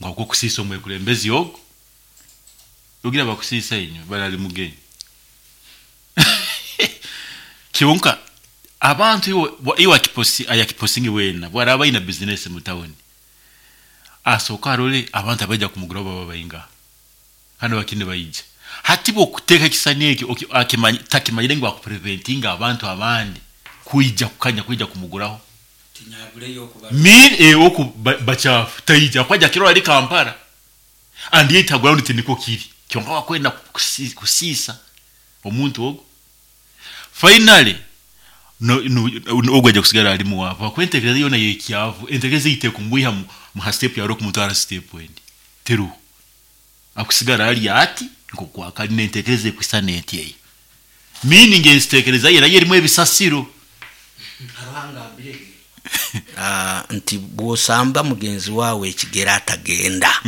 Ngu habw'okusiisa omwekulembezi ogu, ogira bakusiisa inywe bali ali mugenyi. Kyonka abantu iwe iwe akiposi ayakiposingi weena bwaraaba aina bizinesi mu tawuni, asooke arole abantu abaija kumuguraho baba baingaha kandi bakiri nibaija. Hati bw'okuteeka ekisisani eki akimanyi takimanyire ngu akupreventinga abantu abandi kwija kukanya kwija kumuguraho. Mean oku bakyafu taija habwokuba aija kirora ali Kampala and yet ha ground tinikwo kiri. Kyonka wakwenda kusiisa omuntu ogu. Finally ogu aija kusigara ali mwavu habwokuba enteekereza yoona y'ekyavu, enteekereza ei tekumwiha ha step yaroho kumutwara ha step endi, teroho. Akusigara ali ati nk'oku akali n'enteekereza ekwisana eti eyo. Meaning enteekereza ye nayo erimu ebisasiro. Nti bw'osamba mugenzi waawe ekigere atagenda,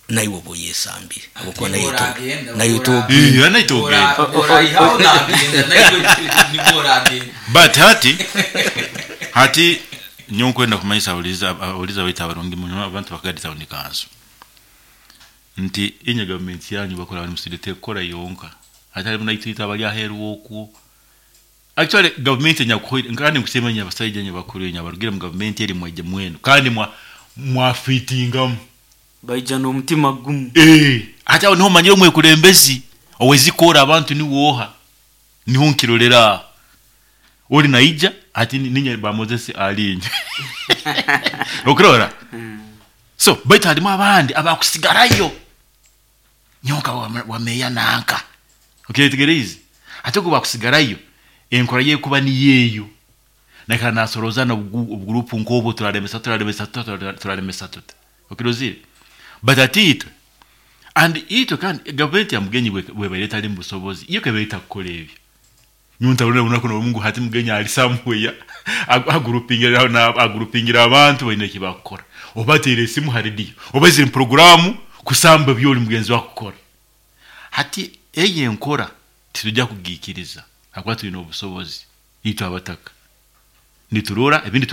naiwe oba oyesambire habwokuba naiwe Eh, naitwe ogenda. But hati nyowe nkwenda kumanyisa abahuriza baitu abarungi muno, abantu ba Kagadi Town Council, nti inywe gavumenti yanyu bakora bali musidi tekukora yonka, hati harimu naitwe itwe abali aheeru okwo. Actually gavumenti enyakuhoire, kandi nkusiima inywe abasaija inywe bakuru inywe abarugire mu gavumenti eri mwaija mwenu kandi mwafiitingamu. Baija n'omutima gumu. Hati aho niho omanyire omwekulembezi ow'ezikoora abantu niwe oha, niho nkirolera aho. Oli naija hati ninye ba Moses ali inywe. Okurora? So baitu harimu abandi abakusigarayo. Nyowe nka wa meeya nanka. Okyetegereize? Hati ogu bakusigarayo enkora ye ekuba niyo eyo. Naikara nasorooza n'obuguruupu nk'obwo, turalemesa turalemesa tuta, turalemesa tuta. Okirozire? But hati itwe, and itwe kandi gavumenti ya Mugenyi bwebaire etali mu busobozi, yo kebaire etakukora ebyo. Nyowe ntarora obunaku n'obumu ngu hati Mugenyi ali somewhere agurupingire abantu baine eki bakukora. Oba ateire esimu ha rediyo, oba aizire mu puroguraamu kusamba ebyoli mugenzi we akukora. Hati eyo enkora titujja kugiikiriza habwokuba twine obusobozi itwe abataka. Niturora ebindi.